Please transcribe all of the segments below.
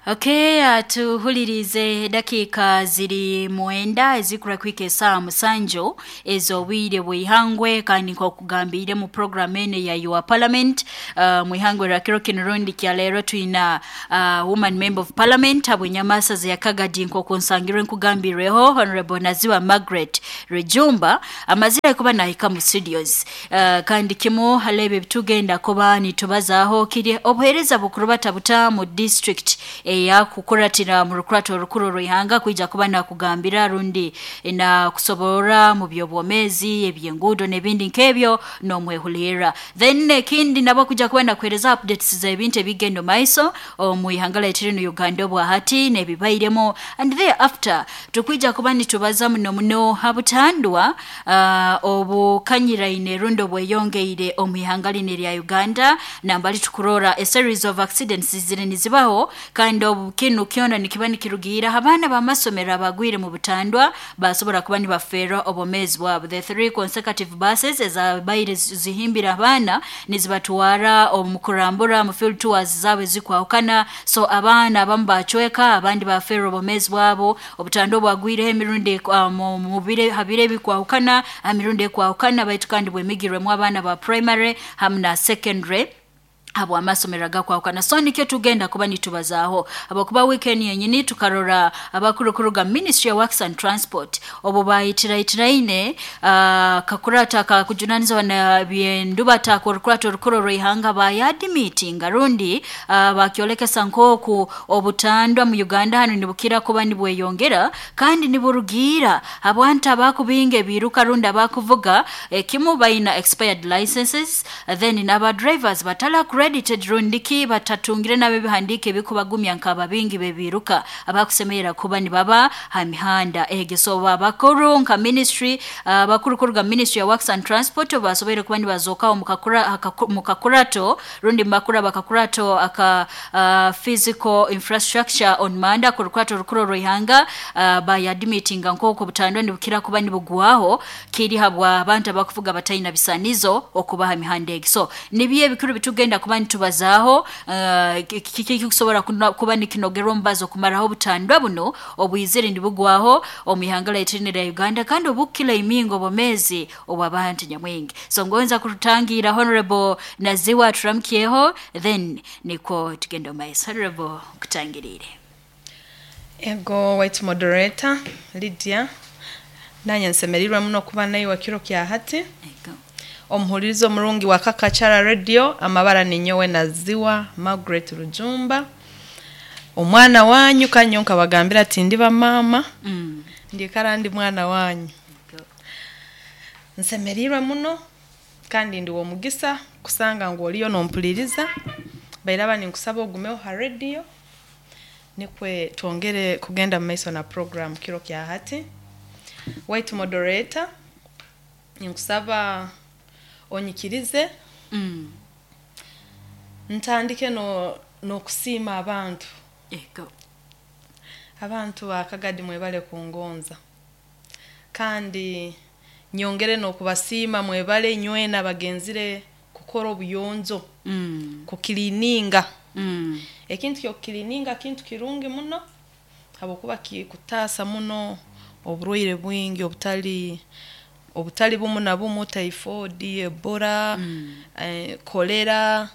Okay, tuhulirize dakika ziri 9 ezikura kwika esaa 7 ez'obwire bw'ihangwe, kandi nk'okugambire mu program ene ya Your Parliament, mwihangwe lya kiro kino rundi kya leero twina woman member of parliament habw'enyamasa ya Kagadi, nk'oku nsangirwe nkugambireho Honorable Naziwa Margaret Rujumba amazire kuba nahika mu studios. Kandi kimu halebe bitugenda kuba nitubazaho kiri obuheereza bukurubata buta mu district eyakukuratira mu rukurato orukuru rw'ihanga, kwija kuba nakugambira rundi na kusoborora mu by'obwomezi, ebyenguudo n'ebindi nk'ebyo n'omwehulira. Then ekindi nabo kuja kuba nakuhereza updates z'ebintu ebigenda maiso omu ihanga lyaitu linu Uganda obwahati n'ebibairemu, and thereafter tukwija kuba nitubaza muno muno ha butandwa obukanyiraine rundi obweyongeire omu ihanga linu erya Uganda, nambali tukurora a series of accidents ziri nizibaho, kandi obu kinu kyona nikiba nikirugiira abaana b'amasomero abagwire mu butandwa basobora kuba nibafeerwa obwomeezi bwabo. The 3 consecutive buses ezabaire zihimbira abaana nizibatwara omu kurambura mu field tours zaabo ezikwahukana, so abaana abamu bacweka, abandi bafeerwa obwomeezi bwabo. Obutandwa obwagwireho emirundi habiro ebikwahukana, emirundi ekwahukana, baitu kandi bwemigirwemu abaana ba primary hamu na secondary habw'amasomero agakwahukana. So nikyo tugenda kuba nitubazaaho, habwokuba weekend yenyini tukarora abakuru kuruga Ministry of Works and Transport obu bayitirayitiraine kakurata akakujunanizibwa na byendubata k'orukurato orukuru rw'ihanga, bayadimitinga rundi bakyolekesa nk'oku obutandwa mu Uganda hanu nibukira kuba nibweyongera kandi niburugiira abantu abakubinga ebiruka rundi abakuvuga, ekimu bayina expired licenses, then n'aba drivers batala accredited rundiki batatungire nabo ebihandiiko ebikubagumya nk'ababingi b'ebiruka abakusemerera kuba nibaba ha mihanda egi. So abakuru nka ministry, abakuru kuruga Ministry ya Works and Transport basoboire kuba nibazookaho mu kakurato rundi makuru bakakurato aka physical infrastructure on manda ku rukurato rukuru rw'ihanga, bayadimitinga nk'oku obutandwa nibukira kuba nibugwaho kiri habwa abantu abakuvuga bataina bisanizo okubaha mihanda egi. So nibyo ebikuru bitugenda kuba nitubazaaho, kiki kikusobora kuba nikinogerwa omubazo okumaraho obutandwa buno obwizire nibugwaho omu ihanga lyaitu linu erya Uganda, kandi obukukila imingo obwomeezi obw'abantu nyamwingi. So ngonza kurutangira Honorable Naziwa turamukyeho, then nikwo tugenda omu maiso. Honorable, kutangiriire. Ego white moderator Lydia, nanye nsemereirwe muno kuba naiwe kiro kya hati. Ego. Omuhulirizo omurungi wa Kakachara Radio, amabara ni nyowe Naziwa Margaret Rujumba, omwana wanyu kanyo nkabagambira ati ndi bamama, ndikara ndi mwana wanyu. Ego. Nsemereirwe muno kandi ndi w'omugisa kusanga ngu oliyo nompuliriza, bairaba ninkusaba ogumeho ha radio nikwe twongere kugenda mu maiso na program kiro kya hati. White moderator, ninkusaba onyikirize ntandike n'okusiima abantu. Ego. Abantu ba Kagadi mwebale kungonza, kandi nyongere n'okubasiima mwebale nywena bagenzire kukora obuyonjo, kukiliininga. Ekintu ky'okukiliininga kintu kirungi muno habwokuba kikutaasa muno oburwaire bwingi obutali bumu na bumu, typhoid, ebola, kolera,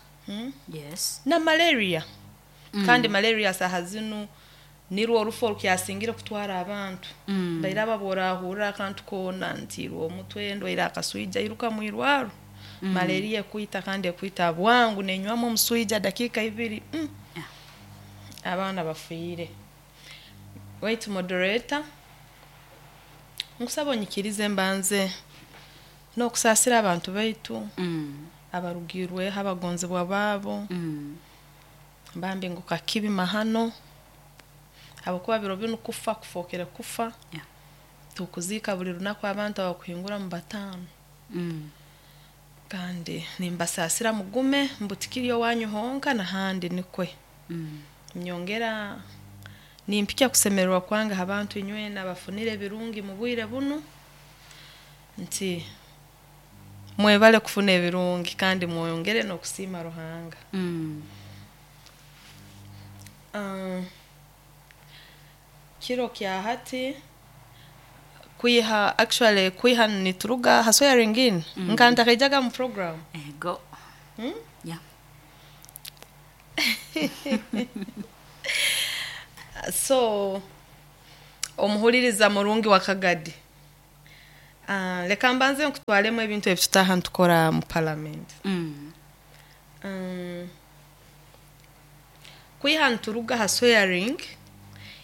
Yes. na malaria. Kandi malaria saha zinu nirwo orufu orukyasingire kutwara abantu. Bairaba bw'orahurra akantu koona ntiirwe omutwe, ndwaire akaswija, iruka mwirwaro. Malaria ekwita kandi ekwita bwangu, nenywamu omuswija dakiika 2. Yeah. Abaana bafiire. Wait moderator, nkusaba onyikirize mbanze n'okusaasira abantu baitu abarugirweho abagonzibwa baabo, mbambi ngu kakibi mahano, habwokuba biro binu kufa kufookere kufa. Yeah. Tukuziika buli lunaku abantu abakuhingura mu 5. Kandi nimbasaasira mugume mbutikiri owanyu honka nahandi nikwe. Nyongera nimpikya kusemererwa kwange abantu inywena bafunire ebirungi mu bwire bunu, nti mwebale kufuna ebirungi kandi mwongere n'okusiima Ruhanga. Kiro kya hati kwiha, actually kwiha nituruga ha swearing in, nkantakaijaga mu program. Ego. Yeah. So omuhuliriza murungi wa Kagadi, leka mbanze nkutwalemu ebintu ebitutaha ntukora mu parliament. Kwiha nturuga ha swearing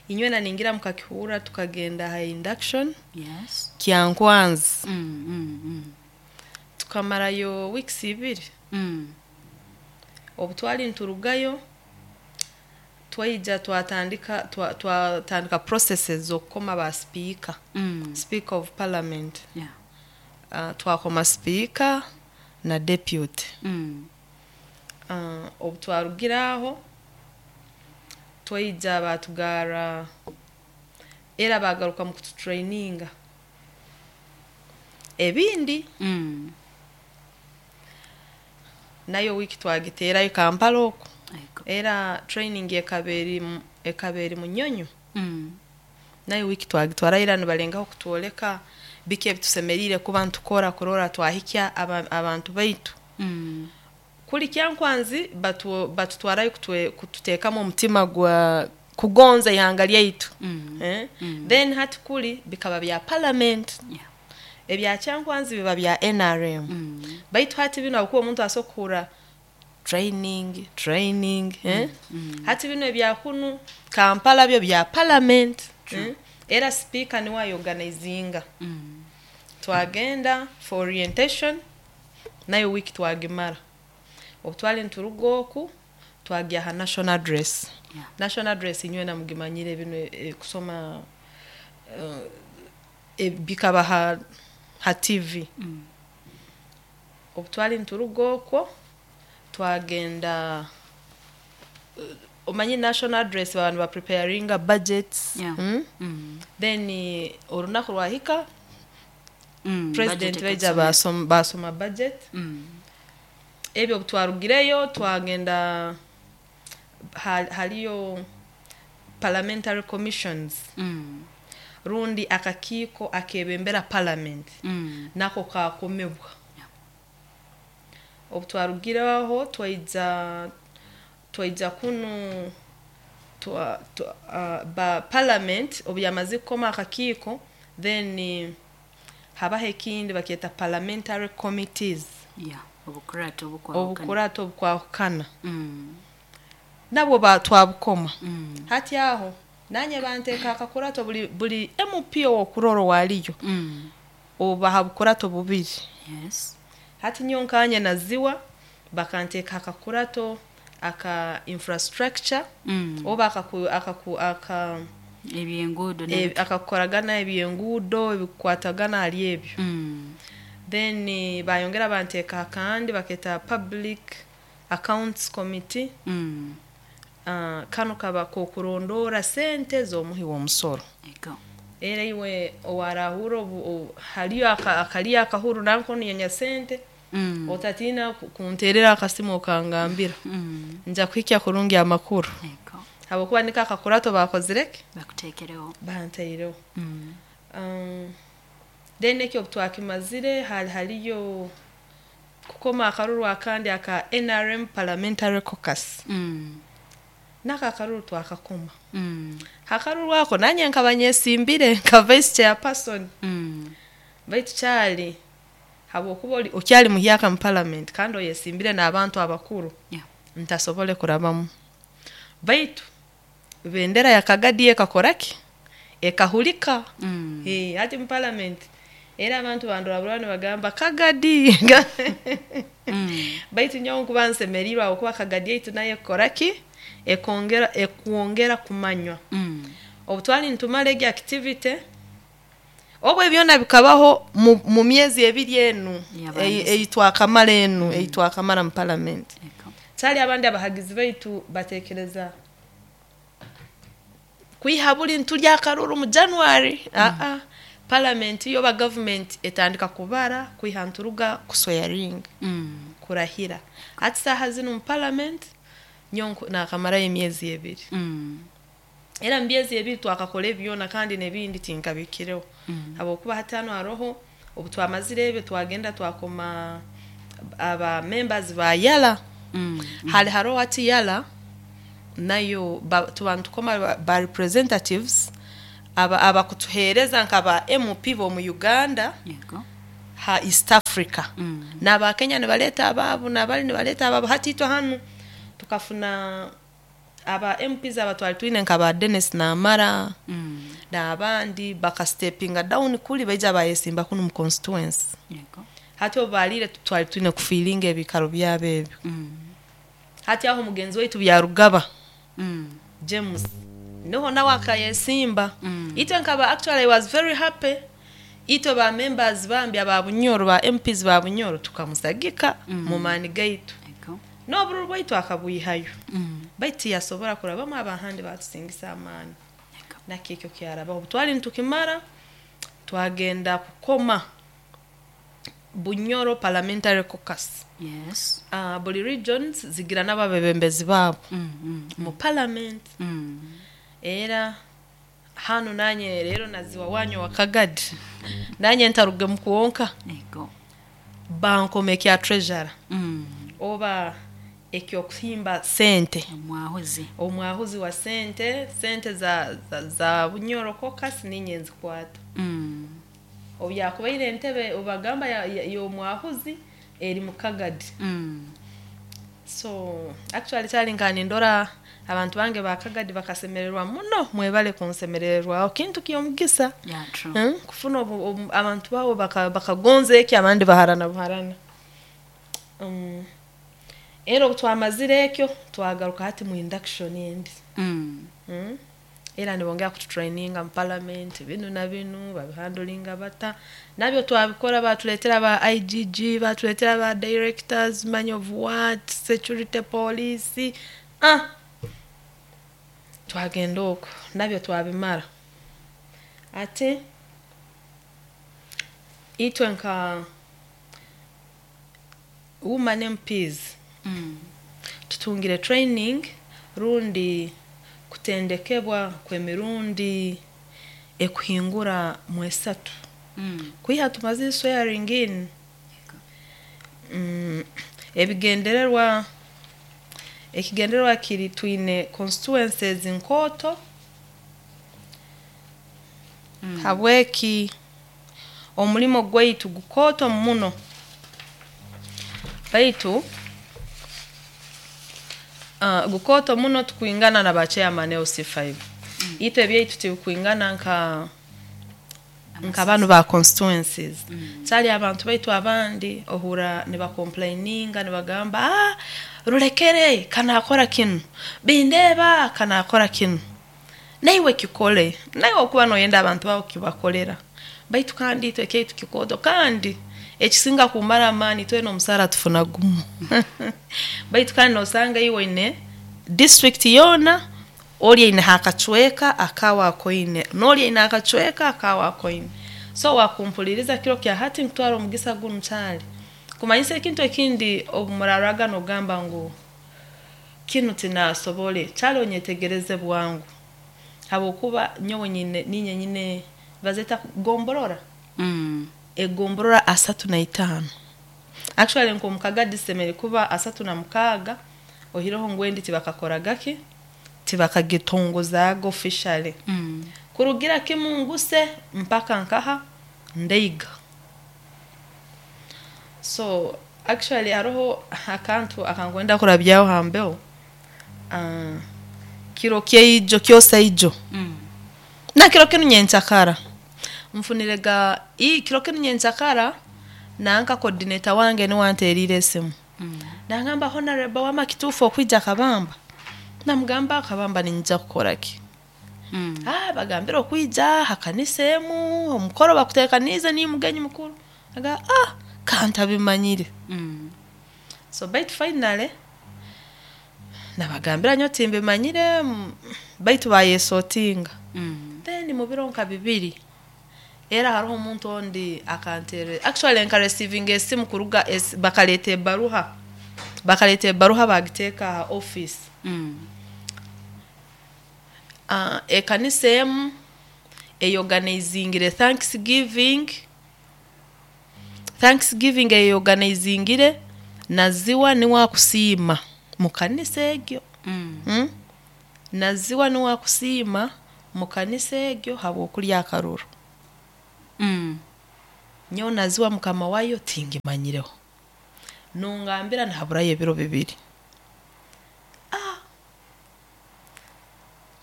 inywe na ningira mukakihura, tukagenda ha induction. Yes. Kyankwanzi. Tukamarayo weeks 2. Obu twali nturugayo, twaija twatandika twatandika processes z'okukoma ba speaker, speaker of parliament. Twakoma speaker na deputy. Obu twarugira aho, twaija batugara era bagaruka mu kututraininga ebindi. Nayo wiki twagiterayo Kampala okwo. Ego. Era training ekaba eri Munyonyo. Nayo wiki twagitwara, era nibalengaho kutwoleka biki ebitusemeriire kuba ntukora kurora twahikya abantu baitu. Kuli Kyankwanzi batutwarayo kututeekamu omutima gwa kugonza ihanga lyaitu. Eh? Then hati kuli bikaba bya parliament. Ebya Kyankwanzi biba bya NRM. Baitu hati bino, akuba omuntu asobola training training, eh? Hati bino ebya kunu Kampala byo bya parliament, eh? Era speaker niwe ayorganizinga. Twagenda for orientation, nayo wiki twagimara. Obu twali nturuga oku, twagya ha national address. National address inywe namugimanyire bino, kusoma, bikaba ha TV. Obu twali nturuga okwo, twagenda, omanyi national address abantu bapreparinga budgets. Then olunaku lwahika, president Budget baija ekasoma. basoma budget. Ebyo obu twarugireyo, twagenda haliyo parliamentary commissions, rundi akakiiko akebembera parliament. Nako kakomebwa. Obu twarugireho, twaija kunu ba parliament obu yamaze kukoma akakiiko, then habaho ekindi bakyeta parliamentary committees. Yeah. Obukurato obukwahukana. Obukurato obukwahukana. Nabwo twabukoma. Hati aho nanye banteeka akakurato, buli MP owokurora waliyo, obaha bukurato bubiri. Hati nyo nkanye naziwa bakanteeka akakurato aka infrastructure, oba akaku, akaku, aka Ebyenguudo. Akakukoragana ebyenguudo ebikukwatagana hali ebyo. Then bayongera banteeka akandi baketa public accounts committee. Kano kaba kokurondora sente z'omuhi w'omusoro. Ego. Era iwe owarahura obu haliyo akaliyo akahuru nanko niyenya sente, otatina kunterera akasimu okangambira. Nja kuhikya kurungi amakuru. Ego. Habwokuba niko akakurato bakozireke, Bakuteekereho. Bantaireho. Then ekyo obu twakimazire, hali haliyo kukoma akaruru akandi aka NRM parliamentary caucus. Nako akaruru twakakoma. Akaruru ako nanye nkaba nyesimbire nka vice chairperson. Baitu kyali habwokuba oli okyali muhyaka mu parliament kandi oyesimbire n'abantu abakuru, ntasobole kurabamu, baitu bendera ya Kagadi ekakoraki, ekahulika. Hati mu parliament era abantu bandora nibagamba Kagadi. Baitu nyowe nkuba nsemerirwe habwokuba Kagadi yaitu nayo ekokoraki, ekongera ekwongera kumanywa. Obu twali nitumara egi activity, obwo byona bikabaho mu myezi 2 enu. Yabandize. Ei twakamara enu, ei twakamara mu parliament. Ego. Kyali abandi abahagizi baitu batekereza kwiha buli ntulya akaruru mu January. Aa, parliament yo ba government etandika kubara kwiha nturuga kuswearing, kurahira. Hati saaha zinu mu parliament Nyowe nakamarayo emyezi 2. Era mu myezi 2 twakakora ebyona kandi n'ebindi tinkabikireho. Habwokuba hati hano haroho obu twamazire ebyo twagenda twakoma aba members ba Yala. Hali haroho hati Yala nayo tuba nitukoma ba representatives abakutuheereza nka ba MP b'omu Uganda ha East Africa. N'aba Kenya nibaleta abaabo n'abali nibaleta abaabo. Hati itwe hanu tukafuna aba MPs abatwali twine nka ba Dennis Namara n'abandi bakastepinga down kuli baija bayesimba kunu mu constituency. Hati obu baliire twali twine kufiilinga ebiikaro byabo ebyo. Hati aho mugenzi waitu Byarugaba James niho nawe akayesimba. Itwe nkaba actually I was very happy. Itwe ba members bambi aba Bunyoro ba MPs ba Bunyoro tukamusagika mu maani gaitu. N'obururu bwaitu akabwihayo. Baitu tiyasobora kurabamu abahandi batusingisa amaani. Nakyo ekyo kyarabaho. Obu twali nitukimara twagenda kukoma Bunyoro Parliamentary Caucus. Buli regions zigira n'ababebembezi baabo mu parliament. Era hanu nanye rero naziwa wanyu wa Kagadi. Nanye ntaruge mu kwonka. Bankoma ekya treasurer. Oba ekyokuhimba sente. Omwahuzi. Omwahuzi wa sente, sente za Bunyoro Caucus ninye nzikwata. Obu yakubaire entebe obagamba y'omwahuzi eri mu Kagadi. So actually kyali nka nindora abantu bange ba Kagadi bakasemererwa muno, mwebale kunsemererwa. Kintu ky'omugisa. Kufuna abantu baabo bakagonza eki abandi baharana buharana. Era obu twamazire ekyo twagaruka hati mu induction endi. Era nibongera kututraininga mu parliament binu na binu babihandulinga bata. Nabyo twabikora, batuletera ba IGG, batuletera ba directors, money of what, security police. Twagenda okwo nabyo twabimara. Ate itwe nka woman MPs tutungire training rundi kutendekebwa kw'emirundi ekuhingura mu 3. Kwiha tumaze swearing in. Ebigendererwa ekigendererwa kiri twine constituencies nkooto. Habweki omulimo gwaitu gukooto muno. Baitu gukooto muno tukwingana na ba chairman LC5. Itwe ebyaitu tibikwingana nka banu ba constituencies. Kyali abantu baitu abandi ohura nibakomplaininga nibagamba rulekere kanakora kinu, bindeba kanakora kinu, naiwe kikole, naiwe okuba noyenda abantu bawo kibakolera. Baitu kandi itwe kyaitu kikooto, kandi ekisinga kumara amaani twena omusara tufuna gumu. Baitu kandi nosanga iwe oine district yoona ori aine akacweka akawa akoine, n'ori aine akacweka akawa akoine. So wakumpuliriza kiro kya hati nkutwara omugisa gunu kyali kumanyisa ekintu ekindi obumuraraga nogamba ngu kinu tinasobole, kyali onyetegereze bwangu. Habwokuba nyowe ninye nyine bazeta gomborora. Egomborora 35. Actually nko mukagadi semere kuba 36 ohireho ngwendi tibakakoragaki tibakagitongozaga officially. Kurugira kimu nguse mpaka nkaha ndeiga. So actually haroho akantu akangwenda kurabyaho hambeo. Kiro kyeijo kyosaijo. Na kiro kinu nyenchakara. Mfunirega kiro kinu nyenchakara nanka coordinator wange ni wanterire esimu. Nangamba honorable wama kitufu okwija Kabamba. Namugamba Kabamba ninja kukora ki? Bagambira okwija hakanisa emu omukoro bakutekanize ni mugenyi mukuru. Aga kanta bimanyire. So baitu finally nabagambira nyo timbimanyire baitu bayesotinga. Then mu biro nka 2 era hariho omuntu ondi akantere actually nka receiving esimu kuruga bakaleta ebaruha. Bakaleta ebaruha bagiteeka ha office. Ekanisa emu eyorganizingire Thanksgiving. Thanksgiving eyorganizingire naziwa niwe akusiima mu kanisa egyo. Naziwa niwe akusiima mu kanisa egyo habw'okulya akaruru. Nyowe naziwa mukama wayo tingimanyireho. Nongambira nihaburayo ebiro 2.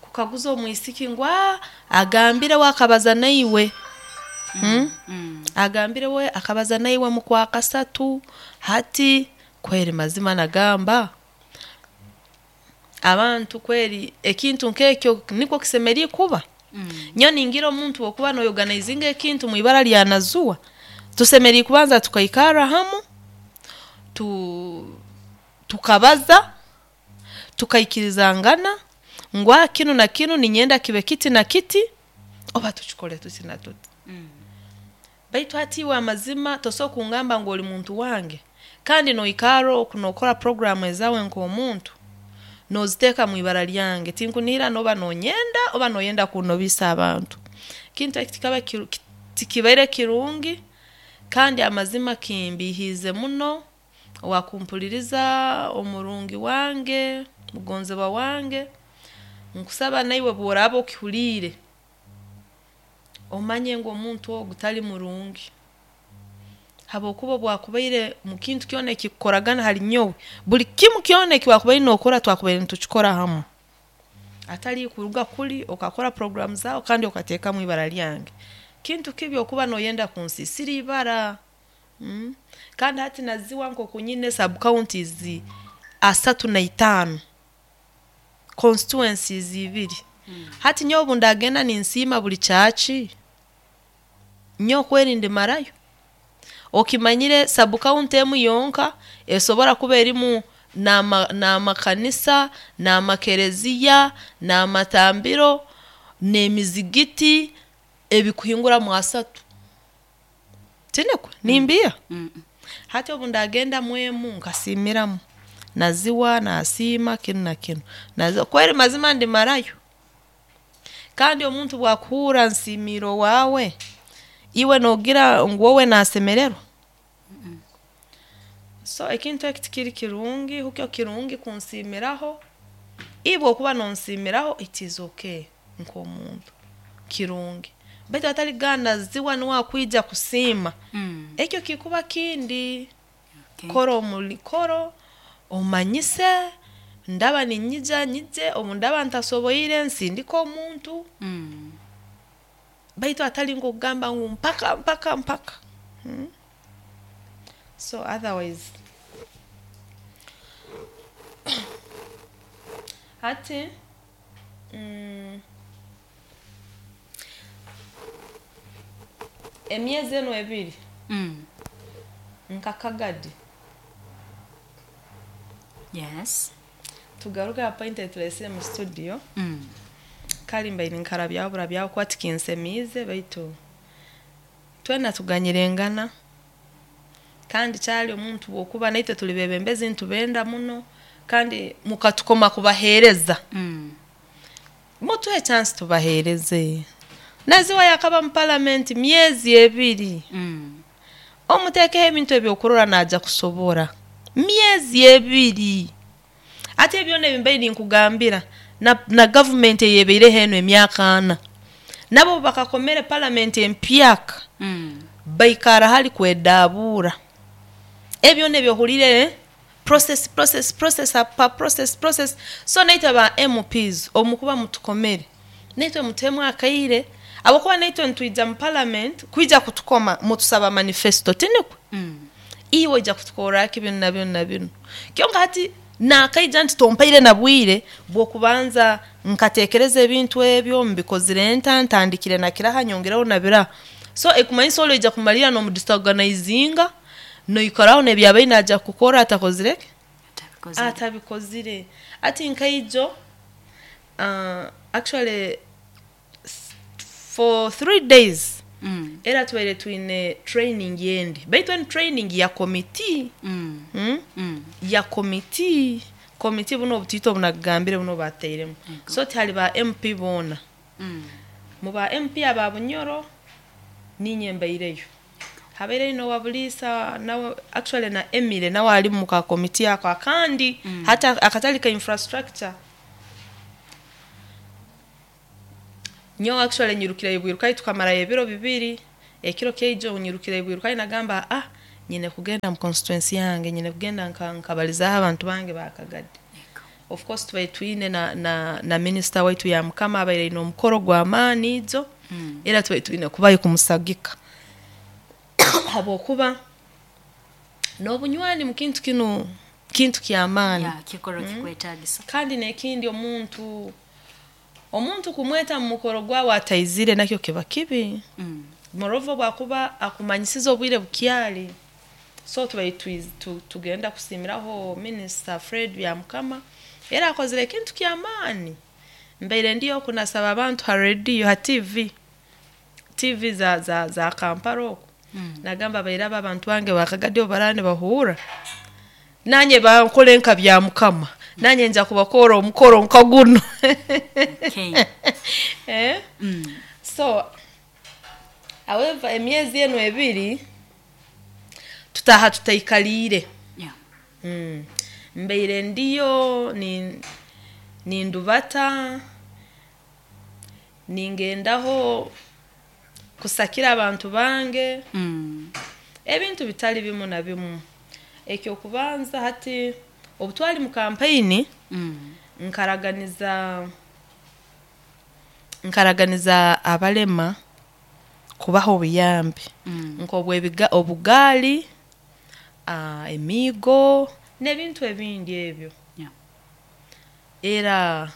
Kukaguza omwisiki ngu agambire we akabaza naiwe. Agambire we akabaza naiwe mu kwa kasatu hati kweri mazima nagamba abantu kweri ekintu nk'ekyo nikwo kisemeriire kuba. Nyowe ningira omuntu okuba noyorganizinga ekintu mu ibara lya nazuwa tusemeriire kubanza tukaikarra hamu tukabaza tukaikirizangana ngu kinu na kinu ninyenda kibe kiti na kiti oba tukikole tuti na tuti. Baitu hati iwe amazima tosobola kungamba ngu oli muntu wange kandi noikarra oku nokora programu ezawe nk'omuntu noziteeka mu ibara lyange tinkunihira noba nonyenda oba noyenda kunobisa abantu. Kintu eki tikaba tikibaire kirungi kandi amazima kimbiihiize muno owakumpuliriza omurungi wange mugonzebwa wange nkusaba naiwe bw'oraaba okihuliire omanye ngu omuntu ogu tali murungi habwokuba obu akubaire mu kintu kyona ekikukoragana hali nyowe buli kimu kyona eki wakubaire nookora twakubaire nitukikora hamu atali kuruga kuli okakora programu zaawe kandi okateekamu ibara lyange. Kintu kibi okuba noyenda kunsiisira ibara. Kandi hati naziwa nk'oku nyine sub counties 35 constituencies 2. Hati nyowe obu ndagenda ninsiima buli kyaki nyowe kweri ndimarayo. Okimanyire sub county emu yonka esobora kuba erimu n'amakanisa n'amakereziya n'amatambiro n'emizigiti ebikuhingura mu 30. Tinukwe nimbiiha? Hati obu ndagenda mwemu nkasiimiramu naziwa nasiima kinu na kinu kweri mazima ndimarayo. Kandi omuntu bwakuhurra nsiimiire owaawe iwe nogira ngu wowe nasemererwa? So ekintu eki tikiri kirungi hukyo kirungi kunsiimiraho iwe okuba nonsiimiraho it is okay nk'omuntu kirungi baitu atali kugamba naziwa nuwe akwija kusiima ekyo kikuba kindi. Kora koro omanyise ndaba ninyija nyije obu ndaba ntasoboire nsindike omuntu baitu atali nk'okugamba ngu mpaka mpaka mpaka. So otherwise hati emyezi enu 2 nka Kagadi. Yes. Tugaruke ha point etulesire mu studio. Kali mbaire nkarabyaho burabyaho kuba tikinsemiize baitu twena tuganyirengana kandi kyali omuntu bw'okuba naitwe tuli bebembezi nitubenda muno kandi mukatukoma kubaheereza. Mutuhe chance tubaheereze. Naziwa yakaba mu parliament myezi 2. Omuteekeho ebintu ebyokurora naija kusobora. Myezi 2. Ate ebyona ebimbaire ninkugambira na gavumenti eyebaireho enu emyaka 4. Nabo bakakomere parliament empyaka baikara hali kwedaabuura. Ebyona ebyohuliire process process process apa process process. So naitwe aba MPs omukuba mutukomere naitwe mutuhemu akaire habwokuba naitwe nitwija mu parliament kwija kutukoma mutusaba manifesto tinukwe. Iwe oija kutukorra ki binu na binu na binu. Kyonka hati nakaija nti tompaire na bwire bw'okubanza nkateekereza ebintu ebyo mbikozire nta ntandikire na kiraha nyongereho na biraha. So ekumanyisa oli oija kumalirra n'omudisorganizinga noikaraho n'ebyabaire naija kukora atakozire ki? Atabikozire. Hati nkaijo actually for 3 days Era tubaire twine training yendi, baitu eni training ya komiti. Ya komiti, komiti buno obutiito obunagambire buno bateiremu. So tihali ba MP boona. Mu ba MP aba Bunyoro ninye mbaireyo, habaireyo n'owa Buliisa nawe, actually na Emily nawe ali mu ka komiti ako akandi hati akatali ka infrastructure. Nyowe actually nyirukireyo bwirukayo, tukamarayo ebiro 2, ekiro kyaijo nyirukireyo bwirukayo, nagamba nyine kugenda mu constituency yange, nyine kugenda nkabalizaho abantu bange bakagadi. Of course tubaire twine na minisita waitu ya Mukama abaire aine omukoro gw'amaani ijo, era tubaire twine kubayo kumusagika habwokuba n'obunywani mu kintu kinu kintu ky'amaani. Kikoro kikwetagisa. Kandi n'ekindi, omuntu kumweta mu mukoro gwawe ataizire nakyo kiba kibi. Moreover bwakuba akumanyisize obwire bukyali. So tubaire tugenda kusiimiraho Minisita Fred Byamukama, era akozire ekintu ky'amaani. Mbaire ndiyo kunasaba abantu ha rediyo, ha TV za Kampala oku. Nagamba bairaba abantu bange bakagadi obu baraba nibahuura, nanye bankole nka Byamukama, nanye nja kubakora omukoro nka guno. So however, emyezi enu 2 tutaha tutaikaliire. Mbaire ndiyo nindubata, ningendaho kusakira abantu bange. Ebintu bitali bimu na bimu. Ekyokubanza, hati obutwali mu kampeyini, nkaraganiza abalema kubaha obuyambi nk'obwebiga obugaali, emiigo n'ebintu ebindi ebyo. Era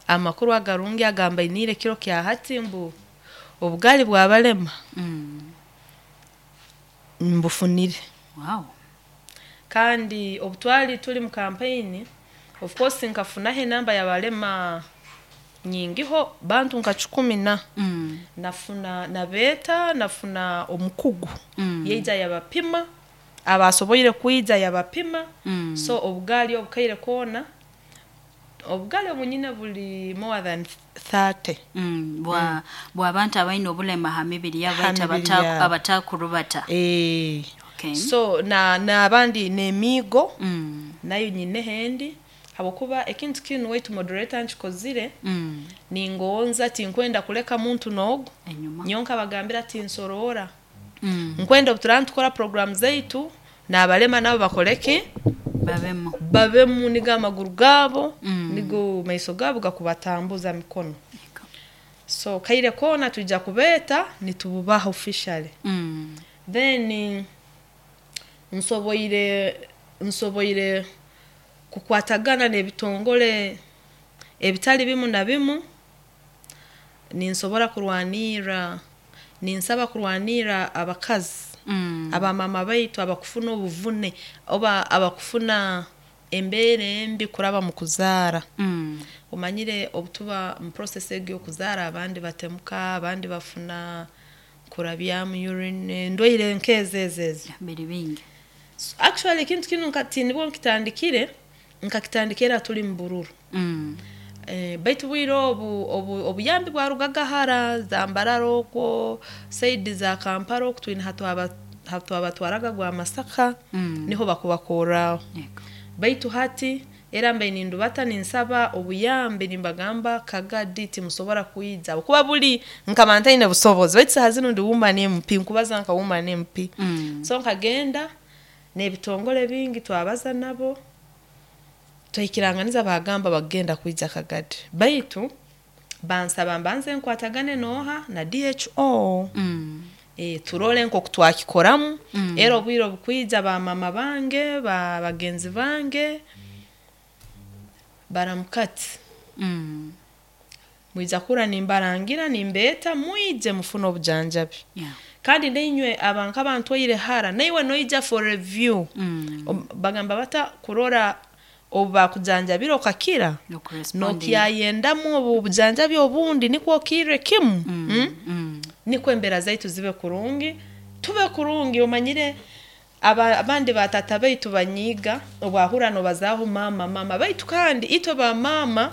amakuru agarungi agambainiire kiro kya hati mbu obugaali bw'abalema mbufunire. Kandi obutwali tuli mu kampeyini, of course nkafunaho enamba y'abalema nyingiho, bantu nka 10 na. Nafuna nabeeta, nafuna omukugu yaija yabapima, abasoboire kwija yabapima. So obugaali obukaire koona, obugaali obunyine buli more than 30. Bw'abantu abaine obulema ha mibiri yabo, Ha baitu mibiri yabo. Abatakurubata. So na n'abandi n'emiigo nayo nyineho endi, habwokuba ekintu kinu waitu moderator nkikozire ningonza, tinkwenda kuleka muntu n'ogu enyuma. Nyowe nkabagambira tinsoroora. Nkwenda obu turaba nitukora program zaitu n'abalema nabo bakole ki? Babemu. Babemu, nigo amaguru gaabo, nigo maiso gaabo gakubatambuza mikono. So kaire koona twija kubeeta nitububaha officially. Then nsoboire kukwatagana n'ebitongole ebitali bimu na bimu, ninsobora kurwanirra, ninsaba kurwanirra abakazi, abamama baitu abakufuna obuvune oba abakufuna embeera embi kuraba mu kuzaara. Omanyire obutuba mu process egi y'okuzaara, abandi batemuka, abandi bafuna kurabyamu urine, endwaire nk'ezo ezo ezo. Biri bingi. Actually ekintu kinu nibwo nkitandikire, nkakitandikira tuli mu bururu. Baitu bwire obu obuyambi bwarugaga hara za Mbarara okwo, saidi za Kampala oku, twine hatwabatwaraga gwa Masaka, niho bakubakorraho. Baitu hati era mbaire nindubata ninsaba obuyambi, nimbagamba Kagadi timusobora kwija habwokuba buli nkaba ntaine busobozi, baitu saaha zinu ndi woman MP, nkubaza nka woman MP. So nkagenda n'ebitongole bingi, twabaza nabo, twaikiranganiza, bagamba bagenda kwija Kagadi, baitu bansaba mbanze nkwatagane nooha, na DHO. Turole nk'oku twakikoramu. Era obwire obukwija, bamama bange, ba bagenzi bange baramukati, mwija kuhurra nimbarangira, nimbeeta mwije mufune obujanjabi. Kandi nainywe abanka bantwaire hara, naiwe noija for review. Bagamba bata kurora obu bakujanjabire okakira, Nokurespondinga. nokyayendamu obu obujanjabi obundi nikwo okirre kimu. Nikwo embeera zaitu zibe kurungi, tube kurungi. Omanyire abandi batata baitu banyiiga obwahurra nobazaaho maama maama, baitu kandi itwe bamaama,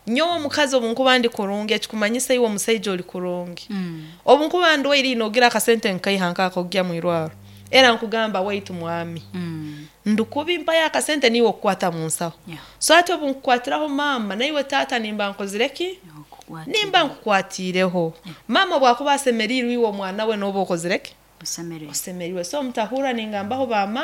nyowe omukazi obu nkuba ndi kurungi, ekikumanyisa iwe omusaija oli kurungi. Obu nkuba ndwaire, noogira akasente nkaiha nkaha ak'okugya mwirwarro? Era nkugamba, waitu mwami, ndukubi, mpayo akasente, niiwe okukwata mu nsaho. So hati obu nkukwatiraho maama, naiwe taata nimba nkozire ki? Nimba nkukwatiireho. Maama obu akuba asemeriirwe, iwe omwana we nooba okozire ki? Osemeriirwe. So mutahurra ningambaho bamaama.